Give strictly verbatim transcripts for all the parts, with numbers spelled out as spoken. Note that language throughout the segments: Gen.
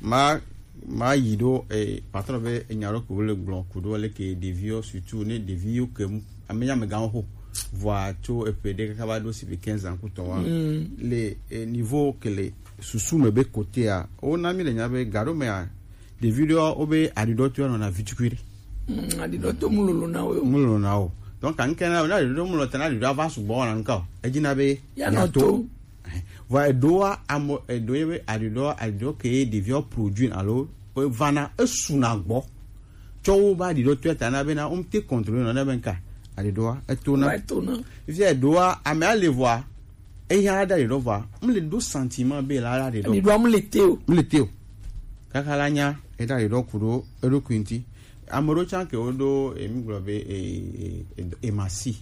Ma ma yi ɖo eh, patron be enya ɖo ko le gblɔ ku ɖo le ke ɖeviwo surtout ne ɖeviwo ke mu ame nya me gan ho vɔa tso eƒe ɖe kaka va ɖo si be quinze ans kutɔ wa le eh, niveau ke le susu me be kotea o na mi le nya be gaɖo mea ɖevi ɖewo wobe aɖuɖɔ to anɔna vitukui ɖe. Mm, aɖuɖɔ to mulolo na wo. Mulolo na wo. Donc kan kena na aɖuɖɔ mulolo tena aɖuɖɔ va sugbɔ na nka o. Edzi na be ya no to. Vɔ eɖoa amo eɖo ye be aɖuɖɔ aɖuɖɔ ke ɖeviɔ produit alo vana esuna gbɔ. Tsɔ wo ba aɖuɖɔ to eta na be na wo te contrôler na be nka aɖuɖɔa etona. Etona. Fifia eɖoa ame ale vɔa eya la ɖaɖi ɖɔ vɔa mle ɖo sentiment be la ɖaɖi ɖɔ. Ɖiɖɔ mle te o. Mle te o. Kaka la nya eɖaɖi ɖɔ ku ɖo eɖokui ŋuti. Ame ɖewo tsã ke woɖo emi gblɔ be emasi.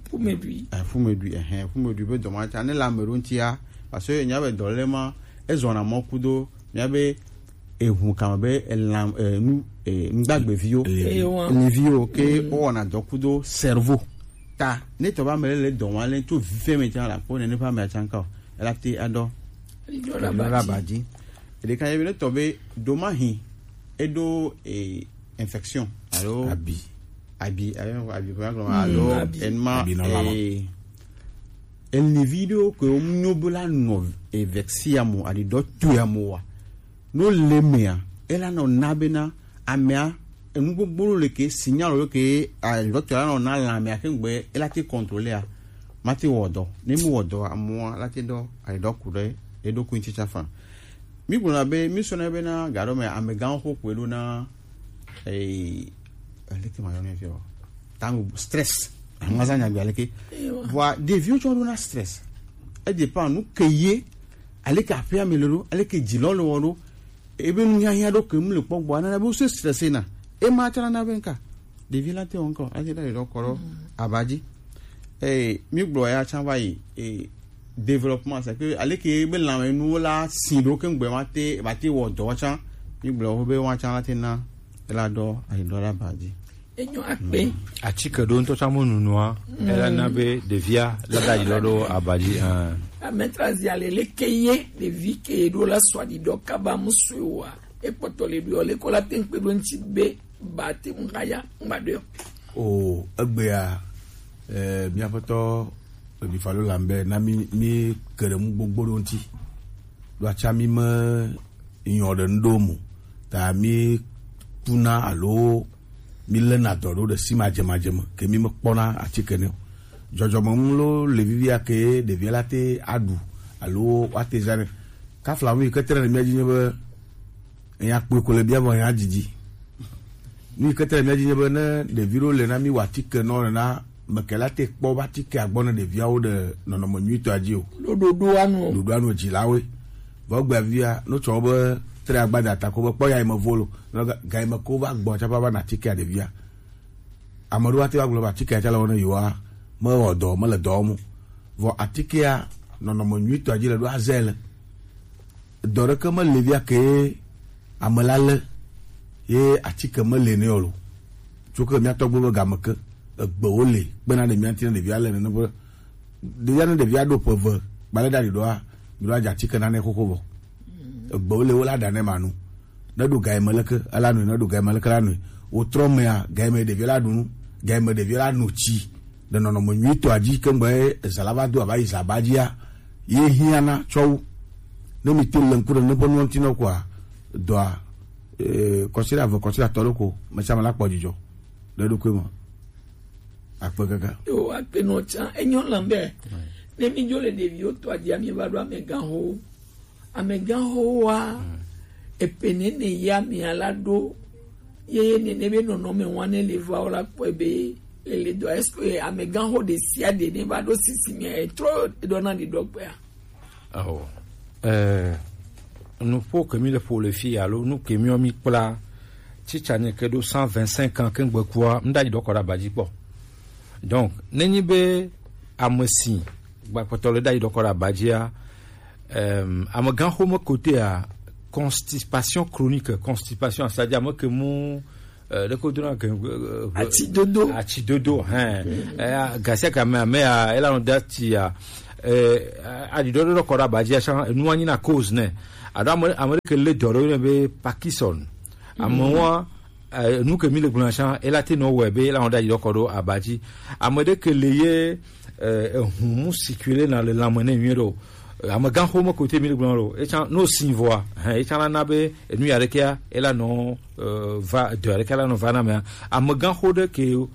Fumedui. Fumedui, ehɛn, fumedui be dɔma tsã ne le ame ɖewo ŋutia parce que enya be dɔ le ma ezɔna mɔ kudo mia be ehu kama be elam enu nugbagbeviwo eliviwo ke wowɔna dɔ kudo cerveau ta ne tɔ be ame le le dɔ wa le tso vive me tsã la kpɔ nene ƒe ame atsã ka o ela te adɔ la ba dzi eɖeka ye be ne tɔ be domahi eɖo infection alo abi abi abi abi alo enma elivi ɖewo ke wo nyo be la nɔ evexia mo aɖi dɔ tuya mo wa no le mea ela nɔ na bena amea enu gbogbo le ke signal le ke dɔtɔ la nɔ na lã amea ke ŋgbe ela te contrôler a ma te wɔ dɔ ne mi wɔ dɔ amoa la te dɔ ayi dɔ ku ɖe eɖokui ŋuti tsafa mi gblɔna be mi sɔna bena gaɖɔ me amegãwo xo kpe ɖo na ee aleke ma yɔ ne fi o tango stress amazan nyagbe aleke vɔa ɖeviwo tsɔ ɖo na stress e dépend nu ke ye aleke aƒea me le ɖo aleke dzilɔ le wɔ ɖo ebe nu hiahiã ɖo ke mu le kpɔ gbɔ anana be wo se stressé na ema tsã nana be nka ɖevi la te wɔ ŋkɔ ate ɖa ɖeɖɔ kɔ ɖo aba dzi eye mi gblɔ ya tsã va yi e développement c'est que aleke be lãme nuwo la si ɖo ke ŋgbe ma te ma te wɔ dɔ tsã mi gblɔ wo be wa tsã la te na ela ɖɔ ayi ɖɔ la ba dzi. Enyo akpe. Atike ɖo ŋutɔ tsã mo nunua ela na be ɖevia la da yi lɔ ɖo aba dzi. Ametrazi ale leke ye ɖevi ke ɖo la sɔ aɖi ɖɔ kaba mu sue wa ekpɔtɔ le ɖo le ko la te ŋkpe ɖo ŋtsi be ba te ŋu xa ya ŋgba ɖo. O egbea eh, miaƒetɔ Ebifalo Lambert na mi mi ke ɖe nu gbogbo ɖo ŋtsi ɖo atsa mi me nyɔ ɖe ŋɖo mo ta mi kuna alo mi lena dɔ ɖo ɖe si madzemadze me ke mi mekpɔna atike nɛ o dzɔdzɔme nu lo le vivia ke ɖevia la te aɖu alo woate zã nɛ kafla nu yi ke tre ɖe mia dzi nye be enya kpɔe ko le bia vɔ enya didi nu yi ke tre ɖe mia dzi nye be ne ɖevi ɖewo le na mi wa atike nɔ nena mekela te kpɔ va atike agbɔ ne ɖeviawo ɖe nɔnɔme nyuitɔa dzi o ɖoɖoɖoa nu o ɖoɖoa nu dzilawoe vɔ gbea via no tsɔ be tre agbada ta ko be kpɔ ya me volo no ga me ko va gbɔ tsapa va na atike ɖevia ame ɖewo ate va gblɔ be atike tsala wɔne yewoa me wɔ dɔ me le dɔ wɔm vɔ atikea nɔnɔme nyuitɔa dzi le ɖo azɛ le dɔ ɖeke me le via ke ame la le ye atike me le ne o lo tso ke mia tɔgbe be game ke egbewo le kpena ɖe mia ŋuti ne ɖevia le nene be ɖevia ne ɖevia ɖo ƒe eve gbalẽ ɖa ɖiɖɔa mi ɖo adza atike nane xoxo vɔ egbewo le wo la ɖa ne ma nu ne ɖo ga me leke ela nui ne ɖo ga me leke la nui wotrɔ mea ga me ɖevia la ɖu nu ga me ɖevia la nu tsi ɖe nɔnɔme nyuitɔa dzi ke ŋgbe ezã la va do ava yi zã ba dzia ye hiã na tsɔ wo ne mi te le ŋku ɖe ne ƒe nuwo ŋuti nɔ koa dɔa eh, kɔsiɖa ve kɔsiɖa tɔ ɖo ko me tsã me la kpɔ dzidzɔ ɖe ɖokui me akpe kaka yo akpe nɔ tsã enyɔ lam be ne mi dzo le ɖeviwo tɔa dzia mi va ɖo amegãxowo amegãxowoa epe nene ya mia la ɖo ye nene be nɔnɔme wa ne le va wo la kpɔe be ele dɔ est-ce que amegãxo ɖe sia ɖe ne va ɖo sisi me etrɔ ɖɔ na ɖiɖɔ kpea Awo. Eh, nuƒo ke mi le ƒo le fi alo nu ke mi mi kpla tsitsa nye ke ɖo cent vingt-cinq ans ke ŋgbe kua m ɖa yi ɖɔ kɔ ɖe aba dzi kpɔ. Donc ne nyi be ame si gbakpɔtɔ le ɖa yi ɖɔ kɔ ɖe aba dzia, em, amegãxome kotea constipation chronique, constipation asadzi ame ke mu eh, ɖeko dona ke eh, atidodo atidodo hɛn eh, gasia kame ame ya ela no dati ya eh, aɖiɖɔ ɖo kɔ ɖo aba dzi, asan enu wa nyi na cause nɛ. Aɖo ame, ame ɖe ke le dɔ ɖo ne be Parkinson. Ame wa, eh, nu ke mi le gblɔ asan, ela te nɔ wɛ be ela nɔ ɖo aɖiɖɔ kɔ ɖo aba dzi. Ame ɖe ke le ye, eh, ehun mu circuler na le lãme ne nyuie ɖo. Eh, amegãxo me kote mi le gblɔ ɖo. Etsan no sin vɔa, hɛn, etsan la na be enu ya ɖe kea, ela nɔ, eh, va, dɔ ya ɖe ke la nɔ va na mea. Amegãxo ɖe ke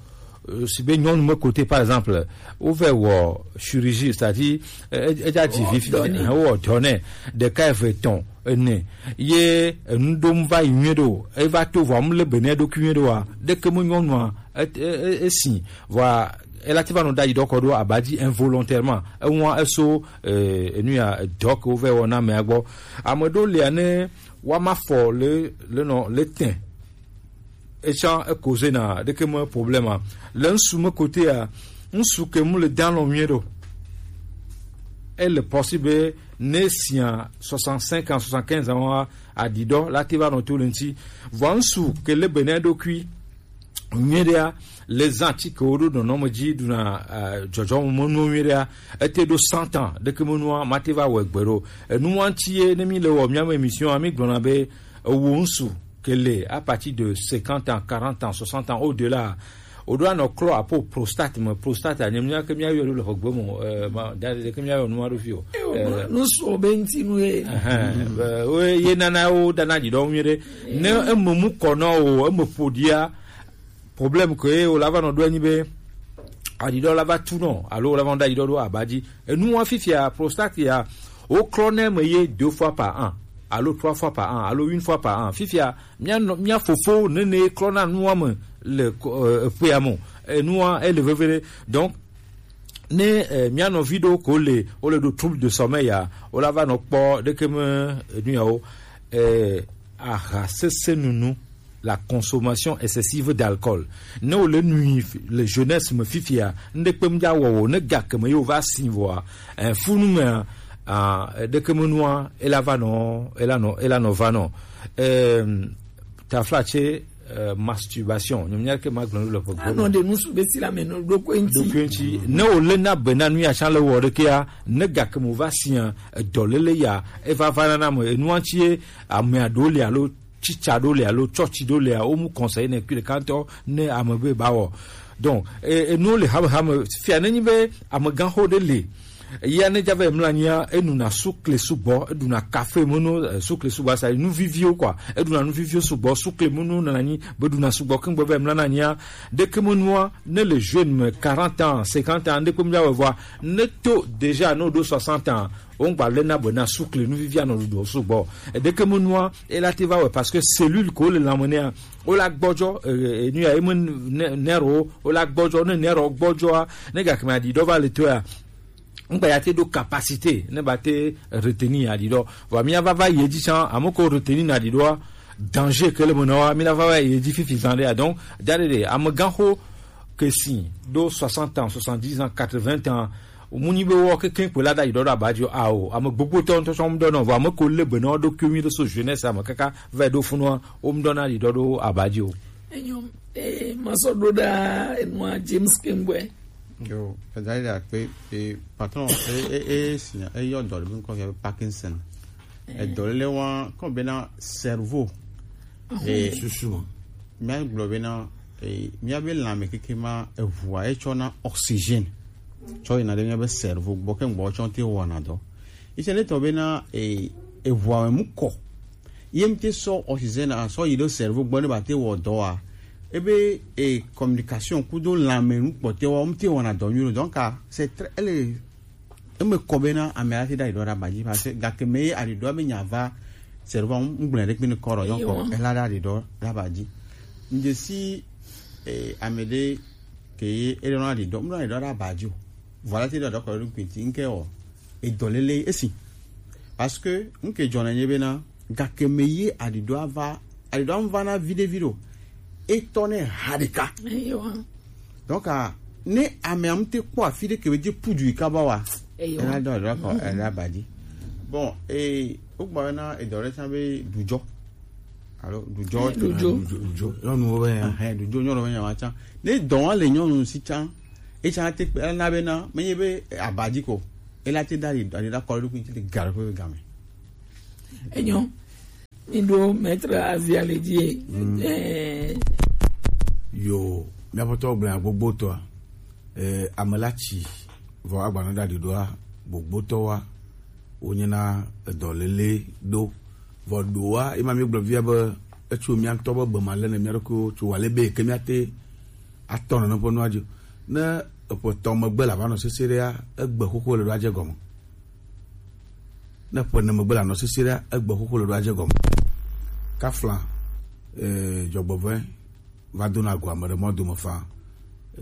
euh, si be nyɔnu me kote, par exemple, wovɛ wɔ chirurgie, c'est-à-dire, euh, e- edza dzi vi fi, wɔ dɔ nɛ, ɖeka eve etɔ̃ ene, ye enu ɖom va yi nyuie ɖo, eva to vɔa mu le be ne ɖokui nyuie ɖoa, ɖeke me nyɔnua e- e- e- esi vɔa ela ti va nɔ ɖo ayi ɖɔ kɔ ɖo aba dzi involontairement, ewa eso, euh, enu ya dɔ ke wovɛ wɔ na amea gbɔ. Ame ɖewo lia ne wa ma fɔ le le nɔ le tɛ. Etsã e cause na ɖeke me problème a. Le ŋsu me kotea, ŋsu ke mu le dan lɔ nyuie ɖo. Ele possible ne sia soixante-cinq ans, soixante-quinze ans wa, aɖiɖɔ la te va nɔ to le ŋti. Vɔ ŋsu ke le be ne ɖokui nyuie ɖea, le zã ti ke wo ɖo nɔnɔme dzi ɖuna, eh, dzɔdzɔme menuwo nyuie ɖea, ete ɖo cent ans ɖeke menua, ma te va wɔ egbe ɖo. Enu wa ŋti ye ne mi le wɔ mia me émission a, mi gblɔna be ewo ŋsu ke le à partir de cinquante ans, quarante ans, soixante ans, au-delà, o ɖo anɔ klɔ apo prostate me, prostate a, nye mia ke mia yɔ ɖo le xɔgbe mo, eh, ma da ɖe ke mia yɔ nua ɖo fi o. Eh, nu sɔ be ŋti nu ye. Ɛhɛn, eh, o ye nana wo dana dzi ɖɔ nyuie ɖe. Ne eme mu kɔ nɔ o, eme ƒo ɖia, problème ke ye wo la va nɔ ɖo anyi be aɖiɖɔ la va tu nɔ, alo wo la va nɔ ɖo aɖiɖɔ ɖo aba dzi. Enu wa fifia prostate ya, wo klɔ ne me ye deux fois par an, alo trois fois par an, alo une fois par an. Fifia, mia nɔ, mia fofo nene klɔ na nua me le ko- euh, eƒea me. Enua ele veve ɖe. Donc ne, eh, mia nɔvi ɖo ko le, wo le ɖo trouble de sommeil ya, wo la va nɔ kpɔ ɖeke me enu yawo, eh, aha sese nunu, la consommation excessive d'alcool. Ne wo le nui le jeunesse me fifia, ŋɖe kpem dza wɔ wo, ne gake me yo va si vɔa, eh, funu me, ah, ɖeke me nua, ela va nɔ, ela nɔ, ela nɔ va nɔ. Ehm, taflatse, eh, masturbation. Nyɔmnya ke ma gblɔ le ƒe anɔ ɖe nusu be si la me no ɖo ko ŋti. Ɖo ko ŋti. Ne wo le na be na nu ya sã le wɔ ɖe kea, ne gake mo va sia, edɔ lele ya, eva va na na me, enua ŋti ye, ame aɖewo le alo tsitsa ɖo le alo tsɔtsi ɖo lea, wo mu conseil ne kui ɖeka ŋutɔ ne ame be ba wɔ. Donc, e- enuwo le hamehame fia ne nyi be amegãxo ɖe le. Eya ne dza va yi mla nyia, enuna sukle sugbɔ, eɖuna kafe meno, eh, sukle sugbɔ, asa nu viviwo kɔa, eɖuna nu viviwo sugbɔ, sukle meno nana nyi be ɖuna sugbɔ keŋ gbe va yi mla na nyia, ɖeke menua, ne le jeune me quarante ans, cinquante ans, ɖeke mla wɔ vɔa, ne to déjà no ɖo soixante ans, wo ŋgba le na be na sukle nu vivia nɔ ɖuɖɔ sugbɔ. Eɖeke menua, ela te va wɛ parce que cellule ko le lãme nea, wo la gbɔdzɔ, eh, eh, nu ya, eme ne- nerwo, wo la gbɔdzɔ, ne nerwo gbɔdzɔa, ne gakeme aɖi ɖɔ va le toa, ŋgba ya te ɖo capacité ne ba te retenir aɖi ɖɔ. Vɔ mia va va yi edzi tsã, ame ko retenir na aɖi ɖɔa, danger ke le me na wa, mi la va va yi edzi fifi zan ɖe. Donc, da ɖe ɖe, amegãxo ke si ɖo soixante ans, soixante-dix ans, quatre-vingts ans, mu nyi be wɔ kekeŋ kpe la da yi ɖɔ ɖo aba dzi o, ao, ame gbogbo tɔ ŋutɔ tsɔ ŋu ɖɔ nɔ, vɔ ame ko le be na wo ɖokui nyuie ɖe so jeunesse ame kaka va yi ɖo funua, wo ŋu ɖɔ na yi ɖɔ ɖo aba dzi o. Enyo, eh, ma sɔ ɖo ɖa enua James Kembwe. Yo, eda yi ɖa kpe, eh, patron, eh, eh, eh, sinya, eh, yɔ dɔ le bi ŋkɔ fia be Parkinson. Eh. Edɔ le wa, kɔ be na cerveau. Eh, susu. Míagblɔ bena, eh, míabe lãme keke ma, eʋua etsɔna oxygène tsɔ yina ɖe míabe cerveau gbɔ, ke gbɔ tsɔ te wɔna dɔ. Etsɛ ne tɔ bena, eh, eʋua me mu kɔ. Ye mte sɔ oxygène a sɔ yi ɖe cerveau gbɔ ne ba te wɔ dɔ a. Ebe, eh, communication kudo lãme nu kpɔtɛ wa, mte wɔna dɔ nyuie. Donc, ah, c'est très, elle est eme kɔ bena ame la te ɖo aɖiɖɔ ɖe aba dzi, parce que gake me ye aɖiɖɔa be nya va, cerveau ŋgblẽ ɖe kpe ne kɔ ɖɔ, donc ela ɖo aɖiɖɔ ɖe aba dzi. Ŋdze si, eh, ame ɖe ke ye eɖo na aɖiɖɔ, ŋɖo aɖiɖɔ ɖe aba dzi o. Vɔ la te ɖo aɖiɖɔ kɔ ɖe ɖokui ŋti, ŋke wɔ edɔ lele esi. Parce que ŋke dzɔ na nye bena, gake me ye aɖiɖɔa va, aɖiɖɔa ŋva na viɖe viɖe o. Etɔ ne ha ɖeka. Eyo. Donc, ah, ne amea ŋute kpɔ afi ɖe ke be dze pudu yi kaba wa. Eyo. Ela dɔ ela kɔ, ela ba dzi. Bon, eh, wogba na edɔ ɖe tsã be ɖudzɔ. Alo ɖudzɔ. Eh, ɖudzɔ. Ɖudzɔ, ɖudzɔ. Nyɔnuwo be ya. Ehɛn, ɖudzɔ nyɔnuwo be ya wa tsã. Ne dɔ wa le nyɔnu si tsã, etsã te kpe, ela na be na, menye be, eh, aba dzi ko. Ela te da ɖi ɖi ɖa kɔ ɖo kuntsi ga ɖo ƒe game. Enyo. Mi ɖo maître Azia le dzi. Eh. Yo, miaƒetɔ gblẽ gbogbo tɔa. Eh, ame la tsi vɔ agbanɔ ɖa ɖi ɖoa gbogbo tɔwa wonyena edɔ lele ɖo. Vɔ ɖoa, ema mi gblɔ via be etso mia ŋutɔ be be ma le ne mia ɖokuiwo tso wa le be ke mia te atɔ nɔ ne ƒe nua dzi. Ne eƒe tɔ megbe la va nɔ sese ɖea, egbe xoxo le ɖo adze gɔme. Ne ƒe ne megbe la nɔ sese ɖe egbe xoxo le ɖo adze gɔme. Kafla, eh, dzɔgbevɔe va dona go ame ɖe mɔ dome faa.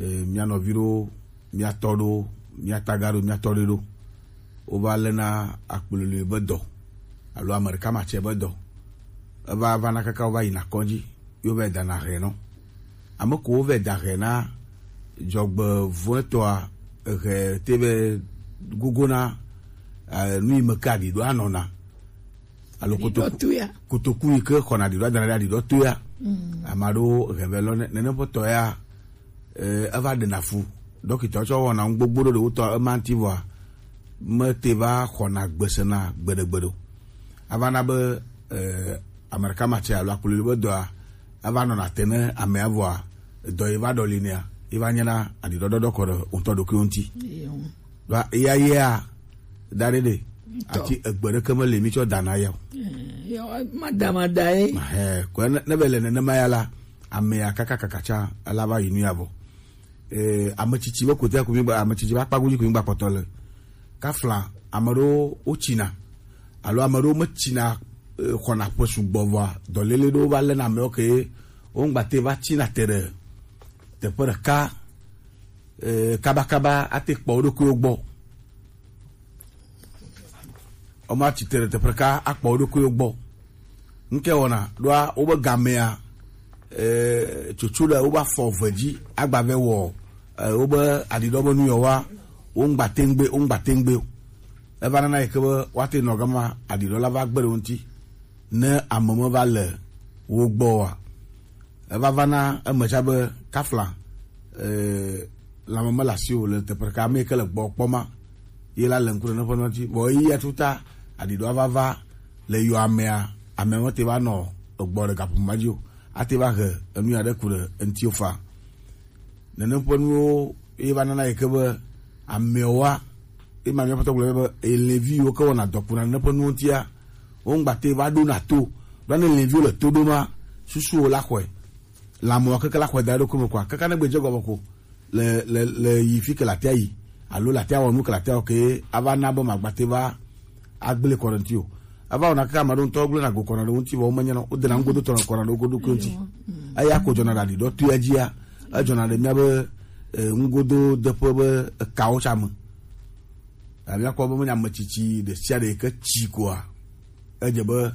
Eh, mia nɔvi ɖo, mia tɔ ɖo, mia taga ɖo, mia tɔ ɖe ɖo. Wova lena akplolui be dɔ alo ame ɖeka matsɛ be dɔ. Eva va na kaka wova yina kɔdzi. Yo vɛ dana hɛ nɔ. Ame ko wovɛ da hɛ na dzɔgbevɔetɔa, hɛ te vɛ gogona, eh, nu yi me ke aɖiɖɔ anɔna. Alo kotoku, kotoku yi ke xɔna aɖiɖɔ adana ɖe aɖiɖɔ to ya. Ame aɖewo hɛ vɛ lɔ ne, nene ƒe tɔ ya, eh, eva ɖena fu. Ɖɔkita tsɔ wɔna nu gbogbo ɖo ɖe wotɔ ema ŋuti vɔa, mete va xɔna gbesena gbeɖegbeɖe o. Ava na be, eh, ame ɖeka matsɛ alo akplɔli be dɔa, eva nɔna te ne amea vɔa, dɔ yi va ɖɔli nea, yi va nyena aɖiɖɔɖɔɖɔ kɔ ɖe ŋutɔ ɖokuiwo ŋuti. Ɖoa eya yea, da ɖe ɖe, ati egbe ɖeke mele mi tsɔ dana ya o. Mada mada ye. Ahɛ, kɔ ne, ne be le nenema ya la, amea kaka kaka tsa, ela va yi nu ya vɔ. Eh, ame tsitsi be kote ko mi gba, ame tsitsi be akpa godzi ko mi gba kpɔtɔ le. Kafla, ame ɖewo wotsina, alo ame ɖewo metsina, eh, xɔna ƒe sugbɔ vɔa, dɔléle ɖewo va lena amewo ke, wo ŋgba te va tsina te ɖe teƒe ɖeka, eh, kabakaba ate kpɔ wo ɖokuiwo gbɔ. Woma tsi te ɖe teƒe ɖeka akpɔ wo ɖokuiwo gbɔ. Ŋke wɔna ɖoa wobe gamea, eh, tsotso ɖe wobe afɔ eve dzi agba vɛ wɔ, eh, wobe aɖiɖɔ be nu yɔ wa, wo ŋgba teŋgbe, wo ŋgba teŋgbe o. Eva nana yi ke be woate nɔ gama aɖiɖɔ la va gbe ɖe wo ŋuti ne ame me va le wo gbɔ oa. Eva va na eme tsã be kafla, eh, lãme mele asi o le teƒe ɖeka, ame yi ke le gbɔ kpɔ ma, ye la le ŋku ɖe ne ƒe nɔti. Vɔ ɣeyiɣia tuta aɖiɖɔa va va le yɔ amea, amea mete va nɔ egbɔ ɖe gaƒoƒo ma dzi o, ate va he enu ya ɖe ku ɖe eŋuti o fa. Nenem ƒe nuwo ye va nana yi ke be ameawoa, ye ma míaƒe tɔgblɔ be elevi yiwo ke wɔna dɔ kuna nenem ƒe nuwo ŋutia, wo ŋgba te va ɖona to. Ɖo ne eleviwo le to ɖoma, susuwo la xɔe. Lãmewo keke la xɔe da ɖe eɖokui me kɔa, kaka ne gbedze gɔme ko le, le, le yi fi ke latia yi, alo latia wɔ nu ke latia wɔ ke ava na be magba te va agblẽ kɔ ɖe ŋuti o. Eva wɔna kaka ame aɖewo ŋutɔ gblẽna go kɔna ɖe wo ŋuti, vɔ womenya nɔ, wodena ŋugodotɔ nɔ kɔna ɖe wo ɖokui ŋuti. Eya ko dzɔna ɖe aɖiɖɔ toea dzia, edzɔna ɖe míabe, eh, ŋugododeƒe be ekawo tsã me. Eh, míakpɔ be menye ame tsitsi ɖe sia ɖe yi ke tsi koa, edze be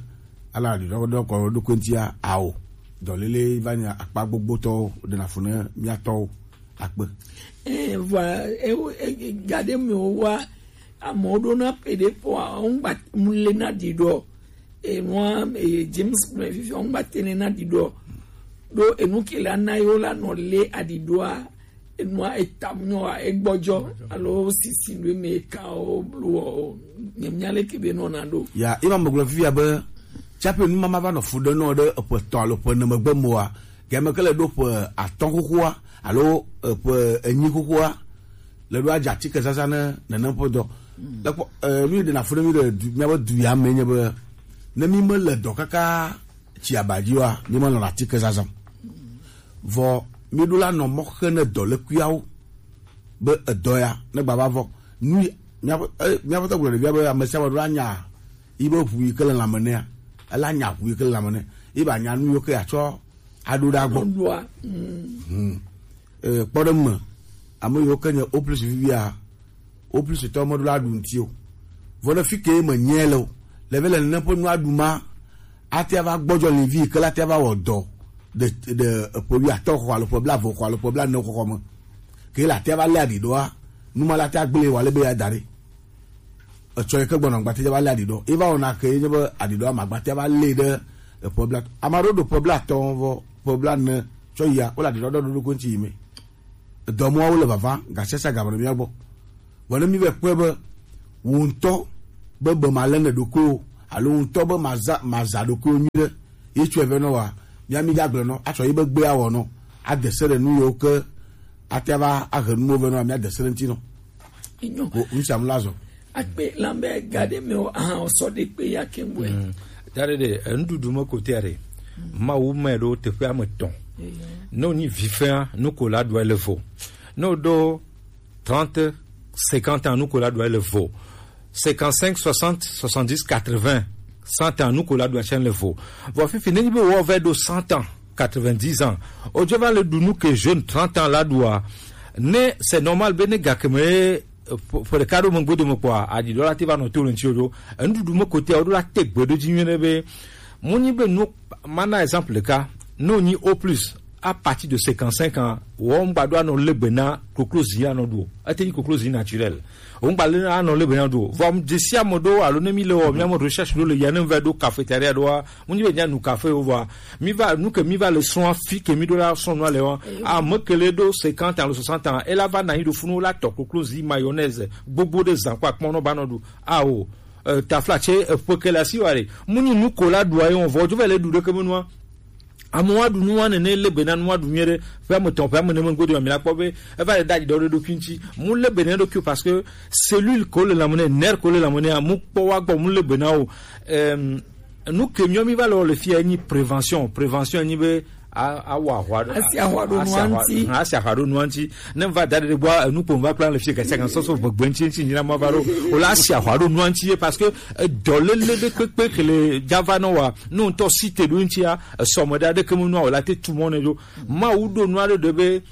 ala aɖiɖɔ ɖe kɔ ɖe ɖokui ŋutia ao. Dɔléle va nye akpa gbogbotɔwo ɖena fu ne mía tɔwo akpe. Eh, vɔa, eh, eh, gaɖe mewo wa, amewo ɖona ƒe ɖe kpɔa, ŋgba mu le na ɖiɖɔ. Enua, eh, James gblɔe fifia, ŋgba te ne na ɖiɖɔ. Ɖo enu ke la na yewo la nɔ le aɖiɖɔa, enua eta nyɔa, egbɔdzɔ, alo sisi ɖo me ka o blo o, nye mía leke be nɔna ɖo. Ya, ema megblɔ fifia be, tsaƒe nu mama va nɔ fu ɖe nɔ ɖe eƒe tɔ alo ƒe ene megbe moa, game ke le ɖo ƒe atɔ̃ xoxoa, alo, eh, ƒe enyi xoxoa, le ɖo adze atike zazã ne nenem ƒe dɔ. Le kpɔ, eh, nu yi ɖena fu ɖe mi le du, míabe du ya me nye be, ne mi me le dɔ kaka tsi aba dzi wa, mi me lɔna atike zazã. Vɔ mi ɖo la nɔ mɔ xe ne dɔ le kuiawo be edɔ ya ne gba va vɔ. Nu yi, míaƒe, eh, míaƒe tɔgblɔ ɖevia be ame sia ame ɖo la nya yi be ʋu yi ke le lãme nɛa, ela nya ʋu yi ke le lãme nɛ. Yi ba nya nu yiwo ke atsɔ aɖo ɖa gbɔ. Ɖoa, mm. Hmm. Eh, kpɔ ɖe me, ame yiwo ke nye O plus vivia, O plus tɔ meɖo la ɖu ŋuti o. Vɔ ɖe fi ke me nye le o, le ve le nene ƒe nua ɖu ma, ate ava gbɔdzɔ livi ke la te ava wɔ dɔ ɖe, ɖe eƒe wi atɔ xɔ alo ƒe bla eve xɔ alo ƒe bla ne xɔxɔ me. Ke la te ava le aɖi ɖoa, nu ma la te agble wa le be ya da ɖe. Etsɔ yi ke gbɔnɔ agbatia va lé aɖiɖɔ. Eva wɔna ke ye nye be aɖiɖɔ ama agbatia va lé ɖe eƒe bla. Ame aɖewo ɖo ƒe bla atɔ̃ vɔ ƒe bla ene tsɔ yia, wole aɖiɖɔ ɖe ɖoɖo ŋuti yi me. Edɔmɔawo le vava, gasiasia game ɖe mía gbɔ. Vɔ ne mi vɛ kpɔe be Wò ŋutɔ be be màlé ne ɖokuiwò alo wò ŋutɔ be màza màza ɖokuiwò nyuie ɖe, ye tsɔe vɛ nɔ wa, mía mí dza gblɔ nɔ, atsɔ yi be gbea wɔ nɔ, ade se ɖe nu yiwo ke ate ava ahe nuwo vɛ nɔ wa, mía de se ɖe ŋuti nɔ. Enyo. Ko nu sia nu la zɔ. Akpe lambe ga ɖe me o, aha, o sɔ ɖe kpe ya ke ŋgɔe. Mm. Da ɖe ɖe, enuɖuɖu me kotea ɖe, Mawu me ɖo teƒe ame etɔ̃. Eya. Ne wonyi vifɛa, nu ko la ɖua le vo. Ne woɖo trente, cinquante ans, nu ko la ɖua le vo. Cinquante-cinq, soixante, soixante-dix, quatre-vingts, cent ans, nu ko la ɖua tsɛ le vo. Vɔ fifi, nenyi be wò va ɖo cent ans, quatre-vingt-dix ans, o dzo va le ɖu nu ke jeune trente ans la ɖua, ne c'est normal be ne gakeme, eh, ƒe, ƒe ɖeka ɖo megbe dome kpɔa, aɖiɖɔ la te va nɔ to le ŋuti ɖo. Enuɖuɖu me kotea, woɖo la te gbe ɖo dzi nyuie ɖe be, mu nyi be nu, mana exemple ɖeka, ne wonyi au plus, à partir de cinquante-cinq ans, wo ŋgba ɖo anɔ le be na koklozi anɔ ɖu o. Ete nyi koklozi naturel. Wo ŋgba le anɔ le be na ɖu o. Vɔ, ame desi ame ɖo alo ne mi le wɔ, mi ame recherche ɖo le ya ne va ɖo cafétéria ɖoa, mu nyi be nya nu café wo vɔa. Mi va, nu ke mi va le srɔ̃a, fi ke mi ɖo la srɔ̃ nua le wa. Ame ke le ɖo cinquante alo soixante ans, ela va na yi ɖo funu la tɔ koklozi, mayonnaise, gbogbo ɖe zan kpa kpɔn nɔ ba nɔ ɖu. Ao, eh, tafla tse, eh, ƒe ke le asi wa ɖe. Mu nyi nu ko la ɖua ye wɔn vɔ, dzo va le ɖu ɖeke me nua. Amewo aɖu nua nene le be na nua ɖu nyuie ɖe. Ƒe ame etɔ̃, ƒe ame ene megbe dome, mi la kpɔ be eva le ɖaɖi ɖɔ ɖe ɖokui ŋuti. Mu le be ne ɖokui o, parce que cellule ko le lãme ne, nerf ko le lãme ne, amu kpɔ wa gbɔ, mu le be na o. Em, nu ke miɔ mi va le wɔ le fia nyi prévention. Prévention nyi be a, awɔ ahwa ɖo, asi ahwa ɖo nua ŋuti. Asi ahwa ɖo nua ŋuti. Ne va da ɖe gbɔ, enu kpo va kpla le fia, gasi kan sɔsɔ gbegbe ŋuti ŋuti nyina ma va ɖo. O la asi ahwa ɖo nua ŋuti ye, parce que, eh, dɔléle ɖe kpekpe ke le dza va nɔ wa, nu ŋutɔ si te ɖo ŋutia, esɔme ɖe aɖeke me nua o la te tu mɔ ne ɖo. Mawu ɖo nua ɖe ɖe be,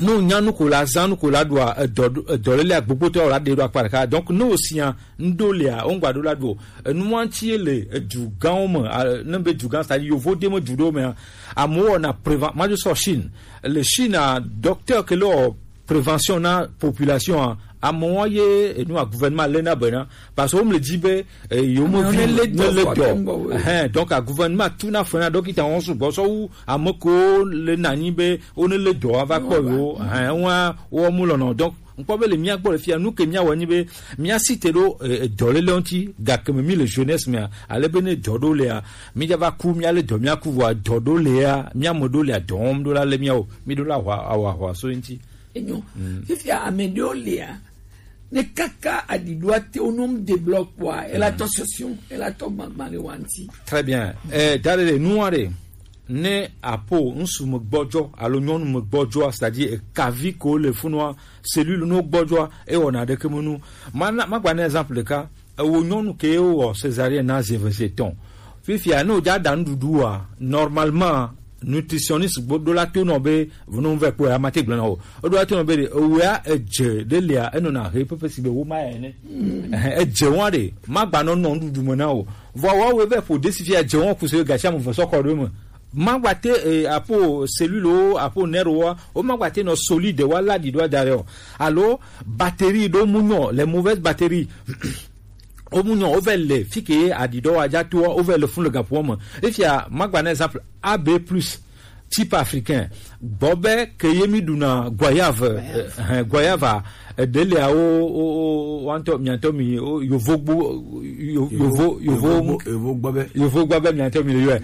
ne wònya nu ko la, zã nu ko la ɖua, edɔ, edɔléle agbogbote wɔ la ɖe ɖo akpa ɖeka. Donc, ne wòsia ŋɖo lea, wo ŋgba ɖo la ɖo. Enua ŋuti ye le edu gãwo me, a, ne be du gã, c'est-à-dire yovo de me du ɖewo mea, amewo wɔna préven-, ma dzo sɔ Chine. Le Chine a, docteur ke le wɔ prévention na population a, amewo ye enua gouvernement le na bena, parce que wo me le di be, eh, yo me vi ne le dɔ. Ɛhɛn, donc a gouvernement tu na fena dɔkita wɔn sugbɔ sɔ wu ame ko le na nyi be wo ne le dɔ ava kpɔ yo. Ɛhɛn, wa wo mu lɔnɔ. Donc ŋkpɔ be le mía gbɔ le fia, nu ke mía wɔ nyi be mía si te ɖo, eh, eh, dɔléle ŋuti, gake me mi le jeunesse mea, ale be ne dɔ ɖo lea, mi dza va ku, mía le dɔ mía ku vɔa, dɔ ɖo lea, mía me ɖo lea, dɔ wɔm ɖo la le mía o, mi ɖo la hwa, awa hwa so ŋuti. Enyo. Mm. Fifia ame ɖewo lea, ne kaka aɖiɖoa te wo nom de blɔ kpɔa, ela tɔ sɔsiɔ, ela tɔ gbagba le wa ŋuti. Très bien. Eh, da ɖe ɖe, nua ɖe, ne apo ŋsu me gbɔdzɔ alo nyɔnu me gbɔdzɔa, c'est-à-dire ekavi ko le funua, cellule no gbɔdzɔa, ewɔna ɖeke me nu. Ma na, ma gba na exemple ɖeka. Ewo nyɔnu ke wowɔ césarienne na zi eve zi etɔ̃. Fifia, ne wòdza ɖa nuɖuɖua, normalement, nutritionniste gbo ɖo la to nɔ be, vunu vɛ kpɔe, ama te gblẽ na o. Eɖo la to nɔ be ɖe, ewea edze ɖe lia, enɔna he pepe si be wo ma ya ene. Ɛhɛn, edze wa ɖe, ma gba nɔ nɔ nuɖuɖu me na o. Vɔ wa wo vɛ ƒo ɖe si fia edze wa ku se gasi ame ve sɔ kɔ ɖo me. Ma gba te, eh, apo cellule wo, apo nerf wo, wo ma gba te nɔ solide wa la ɖi ɖo da ɖe o. Alo batterie ɖo mu nyɔ, les mauvaises batteries. Wo mu nyɔ, wo vɛ le fi ke aɖiɖɔ wa dza toa, wo vɛ le fun le gaƒoa me. Efia, ma gba na exemple, A B plus, type africain. Gbɔ be ke ye mi ɖuna goyave, eh, eh, goyave, eh, ɖe le awo, o, o, o, wa ŋutɔ, mia ŋutɔ mi, o, yovo gbo, yo-, yovo, yovo, yovo gbɔ be. Yovo gbɔ be mia ŋutɔ mi le yɔe.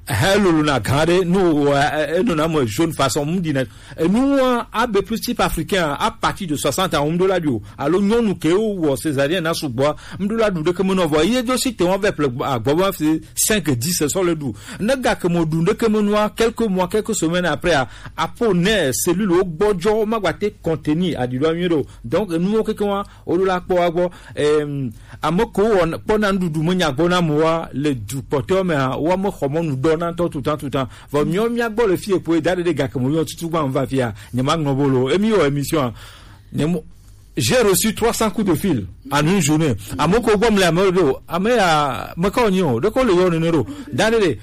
He lolo na gã ɖe, no, eh, eh, enɔna me jaune façon, mu ɖi na. Enu wa, A B plus type africain, à partir de soixante ans, ŋɖo la ɖi o. Alo nyɔnu ke wo wɔ césarienne na sugbɔ, ŋɖo la ɖu ɖeke me nɔ vɔ. Ye do si te wa vɛ ple agbɔ ba fi cinq, dix sɔ le ɖu. Ne gake mo ɖu ɖeke me nua, quelques mois, quelques semaines après, a, apo ne cellule wo gbɔdzɔ, ma gba te contenir aɖiɖɔ nyuie ɖo. Donc, enu wo keke wa, wo ɖo la kpɔ wa gbɔ. Em, ame ko wɔ, kpɔna nuɖuɖu me nya gbɔ na mo wa, le du kpɔtɔ me a, wa me xɔ mɔnu ɖɔ na tɔ tutan tutan. Vɔ miɔ mia gbɔ le fie kpoe da ɖe ɖe gake mo yɔ tutu gba va fia. Nye ma ŋlɔ bolo. Emi wɔ émission a. Nye mo, j'ai reçu trois cents coups de fil en une journée. Ame ko gbɔ mle ame ɖo. Ame ya, me ka onyi o. Ɖe ko le yɔ nene ɖo. Da ɖe ɖe.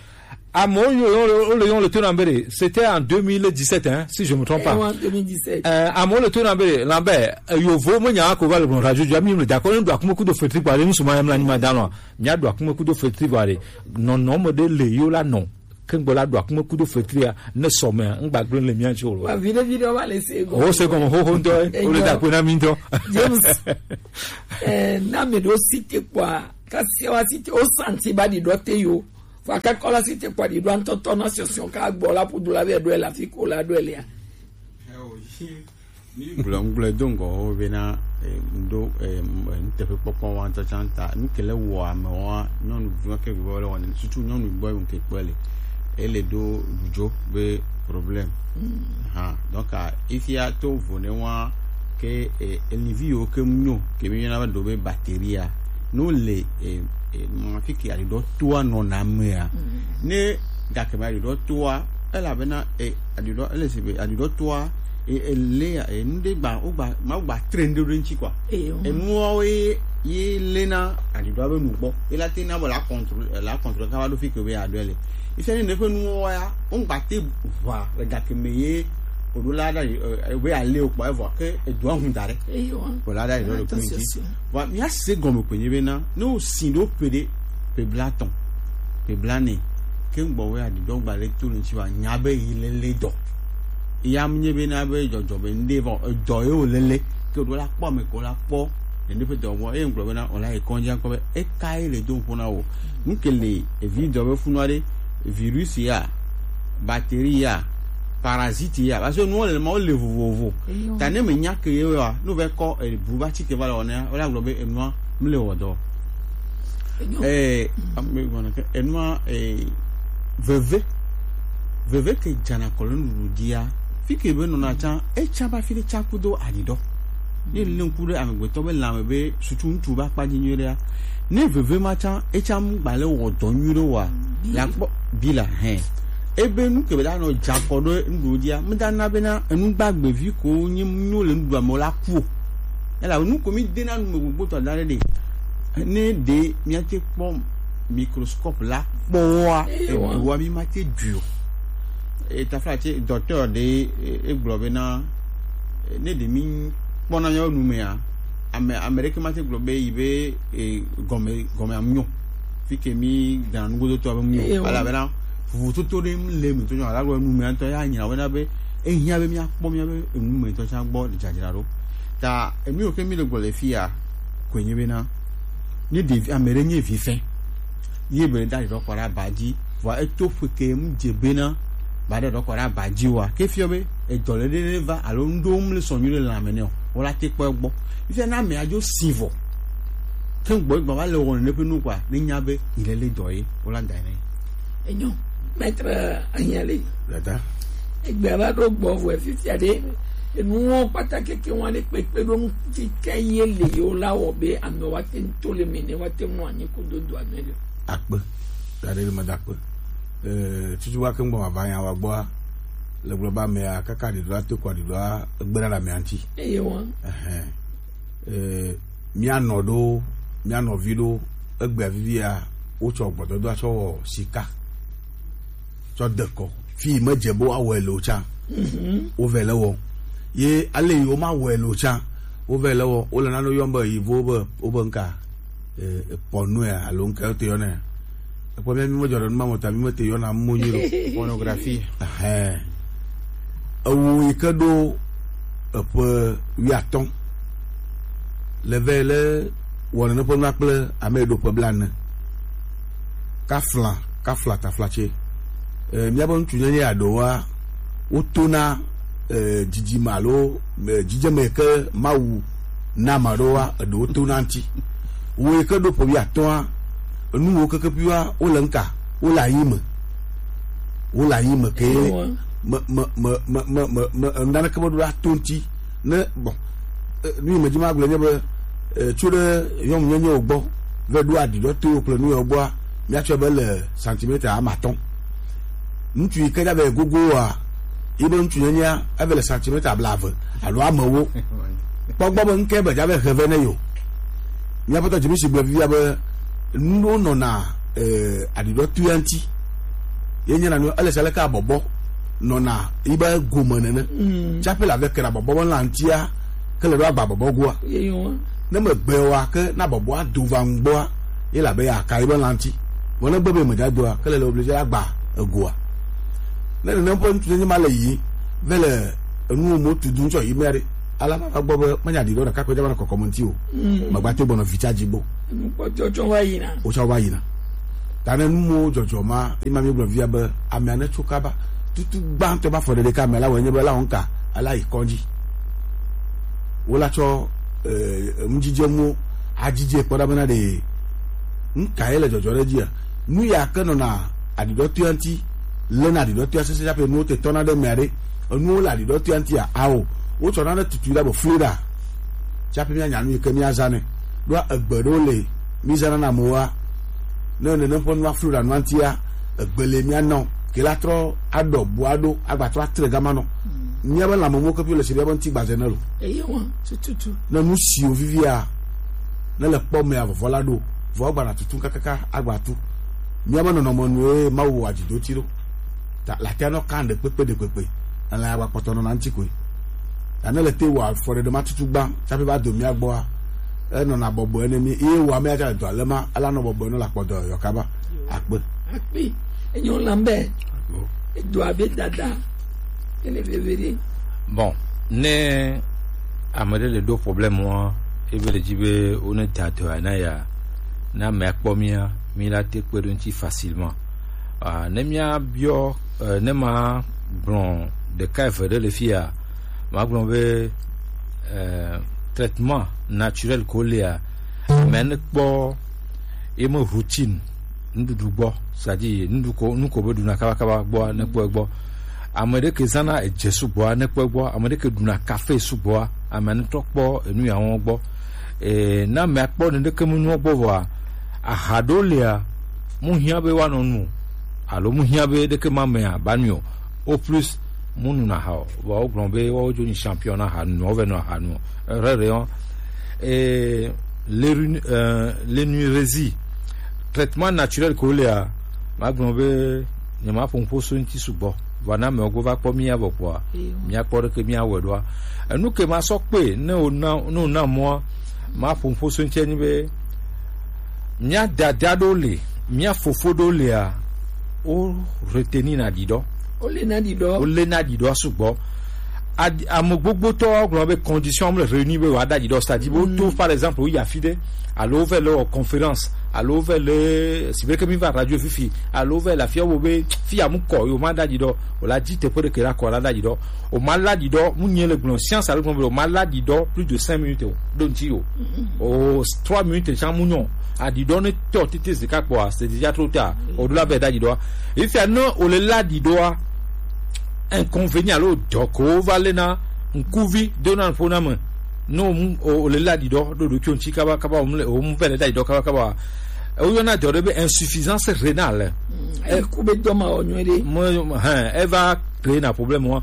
Amewo yo, yo, yo, le, yo, le tona mbere. C'était en deux mille dix-sept, hein, si je me trompe pas. Eh, ouais, deux mille dix-sept. Euh, amewo le tona mbere, Lambert, euh, yovo me nya ko va le bon radio, jami le d'accord, nous doit kuma kudo fetri kwa, nous sommes même l'anima dans. Nya doit kuma kudo fetri kwa. Non, non, me de le yo la, non. Ke ŋgbɔ la ɖo akume kudo fetria ne sɔmea ŋgba gblẽ le mía ŋuti o. Wa viɖe viɖe wa le se gɔme. O se gɔme xoxo ŋutɔ, o le da kpe na mí ŋutɔ. James, eh, na me ɖo si te kpɔa, ka se wa si te, o santi ba ɖi ɖɔ te yo. Fa ka kɔ la si te kpɔa ɖi ɖɔ ŋutɔtɔ na sɔsɔ ka gbɔ la ƒodo la be ɖɔ la fi ko la ɖɔ lia. Mi gblɔ ŋgblɔ do ŋgɔ wo bena, eh, ŋɖo, eh, m-, eh, nuteƒekpɔkpɔ wa ŋutɔ tsã ta. Nu ke le wɔ ame wa, nyɔnuvi wa ke gbɔ le wɔna, surtout nyɔnu gbɔ ŋke kpɔe le. Ele do ɖudzo be problème. Hã. Donc, ah, ifia to vo ne wa ke, eh, elivi yo ke mu nyo, ke mi yɔna be ɖo be batterie a. No le, eh, eh, ma fi ke aɖiɖɔ toa nɔna mea. Ne gake ma aɖiɖɔ toa, elabena, eh, aɖiɖɔ, ele si be aɖiɖɔ toa, e, ele ya, e, nu ɖe gba, wogba, ma wogba tre nu ɖe ɖe ŋuti kɔa. Enuawo ye, ye lena aɖiɖɔa be nu gbɔ. Ela te na be la contrôle, la contrôle kaba ɖo fi ke be aɖɔe le. Esa ne ne ƒe nuwo ya, wogba te ʋua le gake me ye, oɖo la ɖa, e, e, be ale o kpɔ, evɔ ke edoa hu da ɖe. Ko la ɖa yi ɖo le kun ŋuti. Vɔ, mía se gɔme ko nye be na, ne wo si ɖo ƒe ɖe, ƒe blatɔ̃, ƒe blanɛ, ke ŋgbɔ wo ya ɖiɖɔ gba le to le ŋuti wa, nya be yi le le dɔ. Ya mu nye be na be dzɔdzɔ be ŋɖe vɔ, edɔ ye wo lele, ke ɖo la kpɔ ame ko la kpɔ, nene ƒe dɔ vɔ, eye ŋgblɔ be na, o la yi kɔndzi akpɔ be, eka ye le do ŋkɔ na wo. Nu ke le, evi dɔ be funu aɖe, virus ya, batterie ya, parasite ya, parce que nuwo le ma wo le vovovo. Ta ne me nya ke ye wa, no ve kɔ, e, bu ba ti ke va le wɔna, o la gblɔ be enua, mi le wɔ dɔ. Eh, ame gɔna ke enua, eh, veve, veve ke dzana kɔ le nuɖuɖu dzia, fi ke be nɔna tsã, etsã ba fi ɖe tsã kudo aɖiɖɔ. Ne le ŋku ɖe amegbetɔ be lãme be sutu ŋutsu ba kpa dzi nyuie ɖea, ne veve ma tsã, etsã mu gba le wɔ dɔ nyuie ɖe wa, la kpɔ bi la hɛn. Ebe nu ke be da nɔ dza kɔ ɖe nuɖuɖu dzia, me da na be na enu gbagbe vi ko nyi nyo le nuɖuɖua me la ku o. Elabe nu ko mi dena nu me gbogbotɔ da ɖe ɖe. Ne ɖe míate kpɔ microscope la kpɔa, eɖua mi mate dui o. Etafla tse docteur ɖe, e, egblɔ be na, ne ɖe mi kpɔna míawo nu mea, ame, ame ɖeke mate gblɔ be yi be, e, gɔme, gɔme am nyo. Fi ke mi dana nugodo to abe mu nyo. Elabena vovototo ɖe le mi to nyo, ala gblɔ nu mea ŋutɔ ya nyina wena be, ehiã be míakpɔ míabe enu me ŋutɔ tsã gbɔ dzadzraɖo. Ta enu yiwo ke mi le gbɔ le fi ya, koe nye bena, ne ɖevi, ame ɖe nye vi fɛn, ye be da ɖɔ kɔ ɖe aba dzi, vɔa eto ƒe ke mu dze bena, ba ɖe ɖɔ kɔ ɖe aba dzi wa. Ke fiɔ be, edɔ le ɖe va, alo ŋɖo mu le sɔ nyuie ɖe lãme nɛ o, wo la te kpɔ egbɔ. Fifia na ame adzo si vɔ. Ke gbɔ gba va le wɔna ne ƒe nu kɔa, ne nya be, yi le le dɔ ye, wo la da nɛ. Enyo, maître Anyale. Dada. Egbe va ɖo gbɔ vɔ fifia ɖe, enuwo kpata keke wa ɖe kpekpe ɖo ŋuti ke ye le yewo la wɔ be ame wa te to le me ne wa te mu anyi ko dodo ame le. Akpe. Da ɖe le me da akpe. Eh, tutu wa ke ŋgbɔ ma va nya wa gbɔa, le gblɔ ba mea, kaka ɖiɖoa to kɔ ɖiɖoa, egbe na la mea ŋuti. Eye wa. Ɛhɛn. Eh, mía nɔ ɖo, mía nɔvi ɖo, egbea vivia, wotsɔ gbɔdɔdɔa tsɔ wɔ sika, tsɔ de kɔ. Fi yi medze be woawɔe le o tsã, wovɛ le wɔ. Ye ale yi womawɔe le o tsã, wovɛ le wɔ. Wole nane yɔm be yivo be, wobe nka, eh, porno ya, alo nka wote yɔnɛ. Ekpɔ mía mi medzɔ ɖe nu ma me o ta, mi mete yɔna mo nyuie ɖo. Pornographie. Ɛhɛn. Ewo yi ke ɖo eƒe wuiatɔ̃ le vɛ le wɔnene ƒe nua kple ame yi ɖo ƒe blaene. Kafla, kafla taflatse. Eh, míabe ŋutsunyenye aɖewoa, wotona, eh, dzidzime alo, eh, dzidzeme yi ke Mawu na ame aɖewoa, eɖewo tona ŋuti. Wo yi ke ɖo ƒe wuiatɔ̃a, enuwo keke ƒiwa, wole ŋka, wole anyi me. Wole anyi me ke me, me, me, naneke meɖo ɖe ato ŋuti. Ne, bon, eh, nu yi medzi magblɔe nye be, eh, tso ɖe nyɔnunyenyewo gbɔ, va ɖo aɖiɖɔ towo kple nu yawo gbɔa, míatsɔe be le centimètre ame atɔ̃. Ŋutsu yi ke dza be gogo wa, yi be ŋutsunyenyea, eve le centimètre blaeve alo ame ewo. Kpɔ gbɔ be ŋke be dza be he vɛ ne yo. Míaƒe tɔ Jimisi gblɔ vivia be, nuwo nɔna, eh, aɖiɖɔ toea ŋuti. Ye nye na nu, ele se leke abɔbɔ nɔna yi be gome nene. Mm. Tsaƒe la ve kena bɔbɔ be la ŋutia, ke le ɖo agba bɔbɔ goa. Ye yo. Ne me gbe wa ke na bɔbɔa do va ŋgbɔa, ye la be ya ka yi be la ŋuti. Vɔ ne gbe be me dza doa, ke le le obligé agba egoa. Ne nenem ƒe ŋutsu nenye ma le yi, ve le enu mo tu du ŋtsɔ yi mea ɖe, ala ma va gbɔ be menya ɖi ɖo ɖeka koe dza va nɔ kɔkɔm ŋuti o. Mm. Megba te gbɔnɔ vi tsa dzi gbo. Enu kpɔtɔ tsɔ va yina. Wotsɔ va yina. Ta ne nu mo dzɔdzɔ ma, ema mi gblɔ via be amea ne tso kaba. Tutu gbãtɔ ba fɔ ɖeɖe ka amea la wɔ nye be la wɔn ka, ala yi kɔdzi. Wola tsɔ, eh, ŋudzidzenuwo adzidze kpɔ ɖa bena ɖe nu ka ye le dzɔdzɔ ɖe dzia? Nu ya ke nɔna aɖiɖɔtoea ŋuti, lena aɖiɖɔtoea sese tsaƒe nuwo te tɔna ɖe mea ɖe, enuwo le aɖiɖɔtoea ŋutia? Ao, wotsɔna ɖe tutui ɖa be flu ɖa tsaƒe mía nya nu yi ke mía zã nɛ. Ɖoa egbe ɖewo le mí zãna na amewoa, ne nenem ƒe nua flu ɖa nua ŋutia, egbe le mía nɔ ke la trɔ aɖɔ bua ɖo agba trɔ atre gama nɔ. Míabe lãmemɔ ke ƒio le si ɖe ebe ŋuti gbaze ne lo. Eye wa tututu. Ne nu siwo vivia ne le kpɔ mea vɔvɔ la ɖo, vɔ agbana tutu kakaka agba tu. Míabe nɔnɔme nue Mawu wɔ adzidoti ɖo. Ta latia nɔ kan ɖe kpekpe ɖe kpekpe. Elã ya gba kpɔtɔ nɔna ŋuti koe. Ta ne le te wɔ afɔ ɖe ɖe ma tutu gba tsaƒe va do mía gbɔa, enɔna bɔbɔe ne mí ye wɔ ame ya tsa le dɔ ale ma ela nɔ bɔbɔe nɔ la kpɔ dɔ yɔ kaba. Akpe. Akpe. Enyo Lambert. Edo abe dada. Ele veve ɖe. Bon, ne ame ɖe le ɖo problème wa, ebe le dzi be wo ne da dɔ ya na ya, na ame akpɔ mía, mí la te kpe ɖo ŋuti facilement. Ah, ne mía biɔ, eh, ne ma gblɔ ɖeka eve ɖe le fia, ma gblɔ be, eh, traitement naturel ko lea, ame ne kpɔ ye me routine nuɖuɖu gbɔ, c'est-à-dire nuɖuɖu ko, nu ko be ɖuna kabakaba gbɔa, ne kpɔe gbɔ. Ame ɖe ke zãna edze sugbɔa, ne kpɔe gbɔ. Ame ɖe ke ɖuna kafe sugbɔa, ame ne trɔ kpɔ enu ya wɔn gbɔ. E, na ame akpɔ ne ɖeke mu nuɔ gbɔ vɔa, aha ɖo lea, mu hiã be woanɔ nu o, alo mu hiã be ɖeke ma mea ba nui o. Au plus, mu nuna aha o. Vɔa wogblɔ be woawo dzo nyi champion na aha nu, wovɛ nɔ aha nu o. Rere o. Et les, euh, les nuirésie, traitement naturel ko lea, magblɔ be nyemaƒo ŋƒo so ŋuti sugbɔ. Vɔa na amewo go va kpɔ mía vɔ kpɔa, míakpɔ ɖeke míawɔe ɖoa. Enu ke masɔ kpe ne wòna, ne wòna mɔa, maƒo ŋƒo so ŋuti anyi be mía dada ɖewo le, mía fofo ɖewo lea, wo retenir na ɖiɖɔ. Wo le na ɖiɖɔ. Wo le na ɖiɖɔ sugbɔ. Ad-, ame gbogbotɔ gblɔ be condition ame le réunir be wòada ɖiɖɔ, c'est-à-dire be woto, par exemple, woyi afi ɖe, alo wovɛ le wɔ conférence, alo wovɛ le, si be ke mi va radio fifi, alo wovɛ le afia wo be fi ya mu kɔ, yo ma da ɖiɖɔ, o la di teƒe ɖeke la kɔ la da ɖiɖɔ, o ma la ɖiɖɔ, mu nye le gblɔ science alo gblɔ be o ma la ɖiɖɔ plus de cinq minutes o, ɖo ŋuti o. O trois minutes tsã mu nyɔ, aɖiɖɔ ne tɔ tete zika kpɔa, c'est déjà trop tard. O ɖo la vɛ da ɖiɖɔ. Efia ne o le la ɖiɖɔa, inconvénient alo dɔ ko va le na ŋkuvi dona ƒo na me. Ne o mu, o, o le la ɖiɖɔ ɖo ɖokui ŋuti kaba, kaba, o mu le, o mu vɛ le da ɖiɖɔ kaba, kaba. E wo yɔna dɔ ɖe be insuffisance rénale. Mm, e ku be dɔ ma wɔ nyuie ɖe. Mo, mo, hɛn, e va créer na problème wa.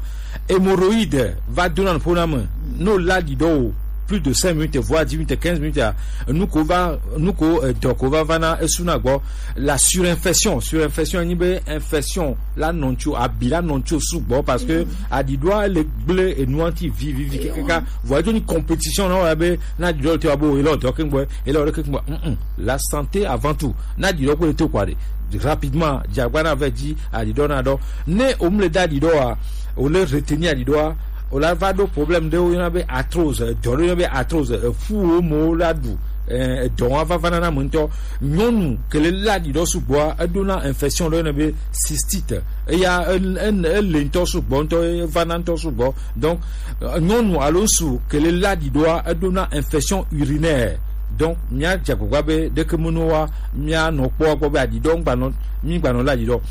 Hémorroïde va dona ƒo na me. Ne o la ɖiɖɔ o plus de cinq minutes, voire dix minutes, quinze minutes, a, nu ko va, nu ko, eh, dɔ ko va va na esu na gbɔ. La surinfection, surinfection nyi be infection la nɔ ŋuti o, abi la nɔ ŋuti o sugbɔ parce que aɖiɖɔa le gblẽ enua ŋuti vivivi kekeka. Vɔ edzo nyi compétition na wɔ be na aɖiɖɔ le te wa be o, ele dɔ ke gbɔ, ele dɔ ke gbɔ. Mm, mm. La santé avant tout. Na aɖiɖɔ kple te kɔ aɖe. Rapidement, dze agba na vɛ dzi, aɖiɖɔ na ɖɔ. Ne o mu le da aɖiɖɔa, o le retenir aɖiɖɔa, o la va ɖo problème ɖe wo yɔna be arthrose, dɔ ɖe yɔna be arthrose, eƒu wo mo la ɖu, eh, edɔ wa va va na na me ŋutɔ. Nyɔnu ke le la aɖiɖɔ sugbɔa, eɖo na infection ɖe yɔna be cystite. Eya, e, e, e le ŋutɔ sugbɔ, ŋutɔ, e va na ŋutɔ sugbɔ. Donc, euh, nyɔnu alo ŋsu ke le la aɖiɖɔa, eɖo na infection urinaire. Donc, mía dze agbagba be ɖeke meno wa, mía nɔ kpɔ gbɔ be aɖiɖɔ ŋgba nɔ, mi gba nɔ la aɖiɖɔ.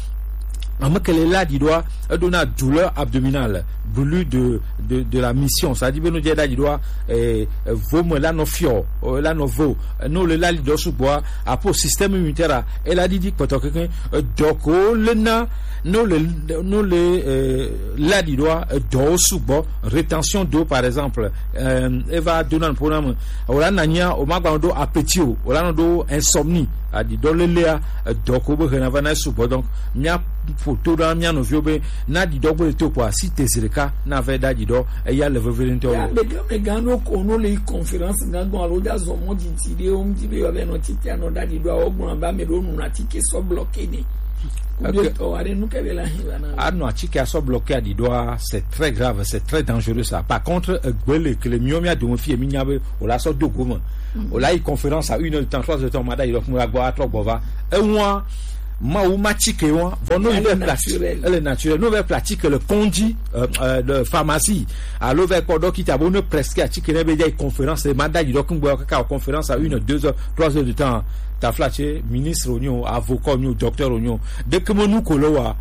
Ame ke le la aɖiɖɔa, eɖo na douleur abdominale, brûlure de, de, de la mission. Ça dit be no dze la aɖiɖɔa, eh, eh, vo me la nɔ fiɔ, eh, la nɔ vo. Ne o le la aɖiɖɔ sugbɔa, apo système immunitaire a, e la ɖiɖi kpɔtɔ kekeŋ. Edɔ ko le na, ne o le, ne o le, eh, la aɖiɖɔa, edɔwo sugbɔ, rétention d'eau par exemple, eh, e va dona nuƒo na me. O la na nyia, o ma gba nɔ ɖo appétit o, o la nɔ ɖo insomnie. Aɖiɖɔ lelea, edɔ ko be hena va na sugbɔ. Donc, mía ƒo to ɖa mía nɔviwo be na aɖiɖɔ gbe le to kpɔa, si te zi ɖeka na vɛ da aɖiɖɔ, eya le veve ŋutɔ. Ya be gã, be gã ɖo ko no le yi conférence gã gbɔ alo da zɔ mɔ didi ɖe wo ŋuti be yewoa be nɔ tite anɔ da aɖiɖɔ, wo gblɔ be ame ɖewo nuna tike sɔ bloqué ne. Anɔ atike asɔ bloqué aɖiɖɔa, c'est très grave, c'est très dangereux ça. Par contre, egbele kele miwo mia dome fie mi nya be o la sɔ do gome. O la yi conférence à une heure de temps, trois heures de temps, ma da yi ɖɔ kuma gbɔ atrɔ gbɔ va. Ewa ma wu ma tike wa. Vɔ no yi be plastique, elle est naturelle. No be plastique le kondi, euh, euh, de pharmacie. Alo ve kpɔ dɔkita bo ne presque atike ne be dza yi conférence, ma da yi ɖɔ kuma gbɔ kaka conférence à une heure, deux heures, trois heures de temps. Taflatse, ministre onyo, avocat onyo, docteur onyo. Dès que mon nous coloa,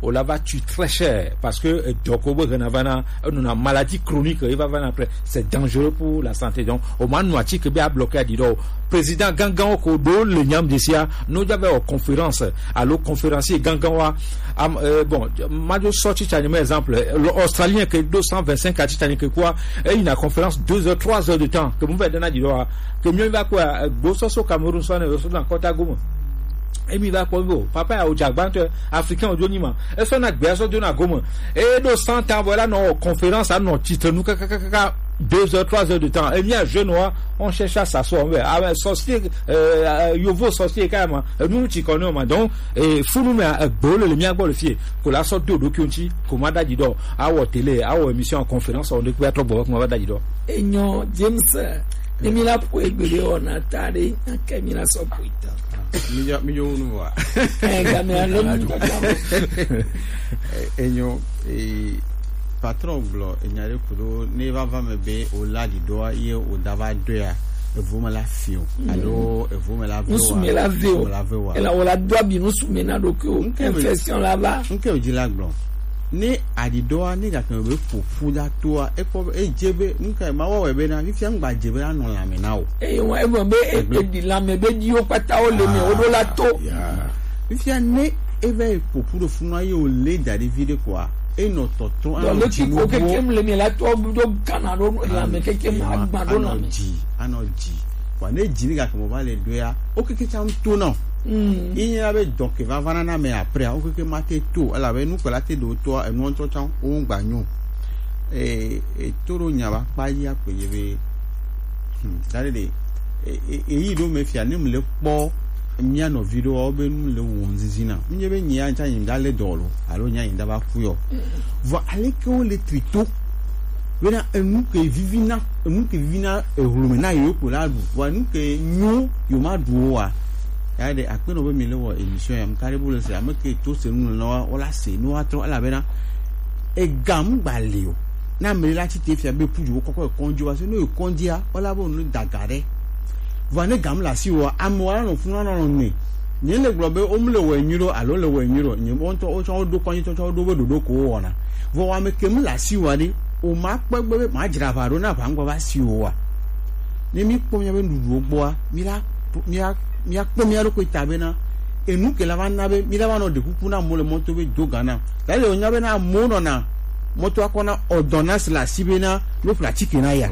on la va tuer très cher parce que euh, donc on va avoir une maladie chronique, il va avoir après, c'est dangereux pour la santé. Donc, on m'a noati que bien bloqué à dire président Gangan ko do le nyam de sia, nous avons une conférence, alors conférencier Gangan wa, am, euh, bon, ma do sorti tani mais exemple, l'Australien que deux cent vingt-cinq à titani que quoi, et une conférence deux heures, trois heures de temps, que vous va donner à dire, que mieux va quoi, euh, Bososo Cameroun soit dans le côté gomo. Emi va kpɔ bo papa ya o dzagbantɔ africain o do nyi ma. Esɔ na gbea sɔ do na gome. E do cent ans voilà no conférence à no titre nous kakakaka deux heures, trois heures de temps. Emi a jeune wa on cherche à s'asseoir on veut ah sorcier euh, yovo sorcier quand même. Nous nous ti connais ma donc et fou nous mais gbo le mia gbo le fie ko la sɔ do do kionti ko ma da di do. Awɔ télé, awɔ émission en conférence, on découvre trop bon ko ma da di do. Enyo James. Ne mi la ƒo egbe ɖe wɔna ta ɖe ake mi la sɔ ƒo ita. Mi yɔ mi yɔ nu wa. Ɛ game ale mi tɔ tɔ. Enyo ee patron gblɔ enya ɖe ku ɖo ne va va me be o la ɖi ɖoa ye o da va ɖoea evo me la fi o alo evo me la ve wa. Nusu me la ve o. Ela o la do abi nusu me na ɖo ke o. Infection la va. Nke o dzi la gblɔ. Ne aɖiɖɔa ne gake be ƒoƒu ɖa toa ekpɔ be edze be nuka ma wɔ wɛ be na fifia ŋgba dze be anɔ lãme na o. Eye wa egblɔ be eɖi lãme be ɖiwo kpata wo le me wo ɖo la to. Fifia ne eva yi ƒoƒu ɖo funu ayi o le da ɖi vi ɖe koa enɔ tɔtrɔ anɔ dzi nuwo. Kekem le me la to ɖo gana ɖo lãme kekem agba ɖo lãme. Anɔ dzi anɔ dzi. Vɔa ne dzi ne gake mo va le ɖoea wo keke tsa ŋuto na o. Ye nye be dɔ ke va va na na me après wo keke ma te to elabe nu kpela te ɖo toa enu ŋutɔ tsa wo ŋgba nyo. E e to ɖo nya va kpa yi akpe ye be hmm da ɖe ɖe e e yi ɖo me fia ne mu le kpɔ mia nɔvi ɖo wo be nu le wo ŋzizi na mi nye be nyi ya ŋtsa nyi da le dɔ lo alo nya nyi da va ku yɔ. Vɔ aleke wo le tri to bena enu ke vivi na enu ke vivi na ehlu me na yewo kpo la ɖu vɔ enu ke nyo yewo ma ɖu o wa. Ya ɖe akpe nɔ be mi le wɔ émission ya mu ka ɖe bo le se ame ke to se nu le nɔ wa wo la se nu wa trɔ elabena ega mu gba le o. Na ame la tsi te fia be pu dziwo kɔkɔ ekɔndzi wa se ne ekɔndzia wo la be nu daga ɖe. Vɔ ne gam le asi wa ame wa nɔ funu nɔ nɔ ne nye le gblɔ be wo mu le wɔ enyi ɖo alo le wɔ enyi ɖo nye ŋutɔ wotsɔ wo ɖo kɔnyi tsɔtsɔ wo ɖo be ɖoɖo ko wo wɔna. Vɔ wa me ke mu le asi wa ɖe o ma kpɔ egbe be ma dzra aʋa ɖo na aʋa ŋgɔ va si wo wa. Ne mi kpɔ mia be nuɖuɖuwo gbɔa mi la mi la mi la kpɔ mia ɖokui ta bena enu ke la va na be mi la va nɔ ɖe kuku na mo le mɔto be do ga na. Lale wònya bena amewo nɔna mɔtoa kɔ na ordonnance le asi bena no ƒle atike na ya.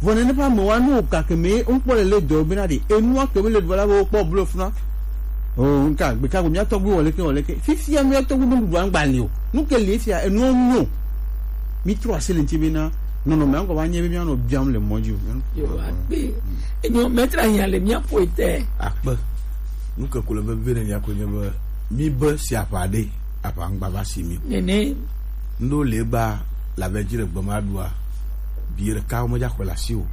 Vɔ nene ƒe amewoa nu wògake me ŋkpɔ le le dɔ bena ɖe enua ke be le dɔ la be wokpɔ blo funa. O nka gbeka go mia tɔgbu wɔ leke wɔ leke fifia mia tɔgbu be nuɖuɖua ŋgba le o nu ke le fia enua ŋu o. Mi trɔ asi le ŋuti bena nɔnɔme ŋgɔ va nye be mia nɔ biam le mɔ dzi o. Yo akpe enyo mɛtra hiã le mia ƒo ete. Akpe. Nu ke ko le vevie ne mia ko nye be mi be si aƒa ɖe aƒa ŋgba va si mi o. Nene. Ŋɖewo le gba le ave dzi le gbe ma ɖua, bi ɖeka wo medza xɔe le asi o.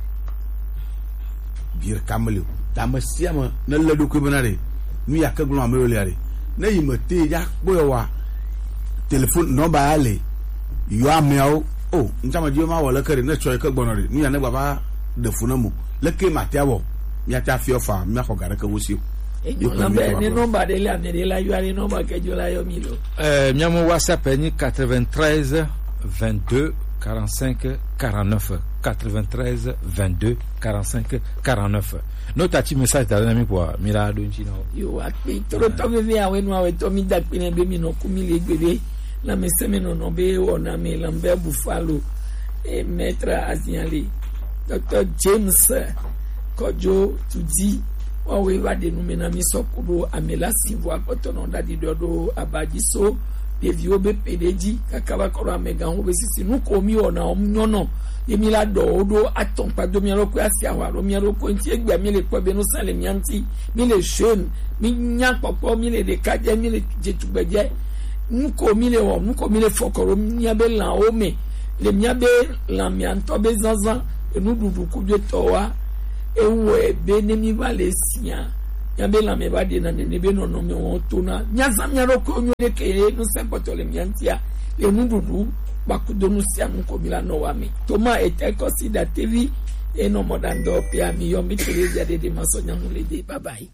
Bi ɖeka meli o. Ta ame sia ame ne lé ɖokui bena ɖe nu ya ke gblɔm ame yiwo lia ɖe, ne yi me te ya kpɔe wa, telefon nɔmba ya le, yɔ ameawo. O ŋtsame dzi be ma wɔ leke ɖe ne tsɔ yi ke gbɔnɔ ɖe nu ya ne gbava ɖe fu ne mo. Leke matia wɔ? Miate afi ɔfa miaxɔ ga ɖeke wo si o. Enyo na be ne nɔmba ɖe le ame ɖe la yɔ ale nɔmba ke dzo la yɔ mi lo. Euh, mia mo WhatsApp ni quatre-vingt-treize vingt-deux quarante-cinq quarante-neuf, quatre-vingt-treize vingt-deux quarante-cinq quarante-neuf. No ta ti message da na mi kwa mi la do nti na. Yo akpe toro to veve awe no awe to mi da kpe ne be mi no ku mi le gbe be. Na me se me no no be o na me lambe bufalo. E maître aziali. Docteur James Kojo Tudi, wawe va ɖe nu me na mi sɔ ku ɖo ame la si vo akpɔtɔ nɔ ɖaɖi ɖɔ ɖo aba dzi so ɖeviwo be ƒe ɖe dzi kaka va kɔ ɖo amegãwo be sisi nu ko mi wɔna wo nyɔnɔ ye mi la ɖɔ wo ɖo atɔnkpa do mia ɖokui asi ahwa ɖo mia ɖokui ŋuti egbea mi le kpɔ be nu sa le mia ŋuti mi le jeune mi nya kpɔkpɔ mi le ɖeka dze mi le dzetugbe dze nu ko mi le wɔ nu ko mi le fɔkɔ ɖo mia be lãwo me le mia be lãmea ŋutɔ be zazã enuɖuɖu kudo etɔwoa ewɔe be ne mi va le sia míabe lãme va ɖena nene be nɔnɔme wɔn tona míazã mía ɖokui onyo ɖe ke ye nu sɛn kpɔtɔ le mía ŋutia le nuɖuɖu kpakudo nu sia nu ko mi la nɔ wa me toma ete kɔsi ɖatevi enɔ mɔ ɖandɔ pe ami yɔ mi tele via ɖeɖe ma sɔ nyanu le de bye bye.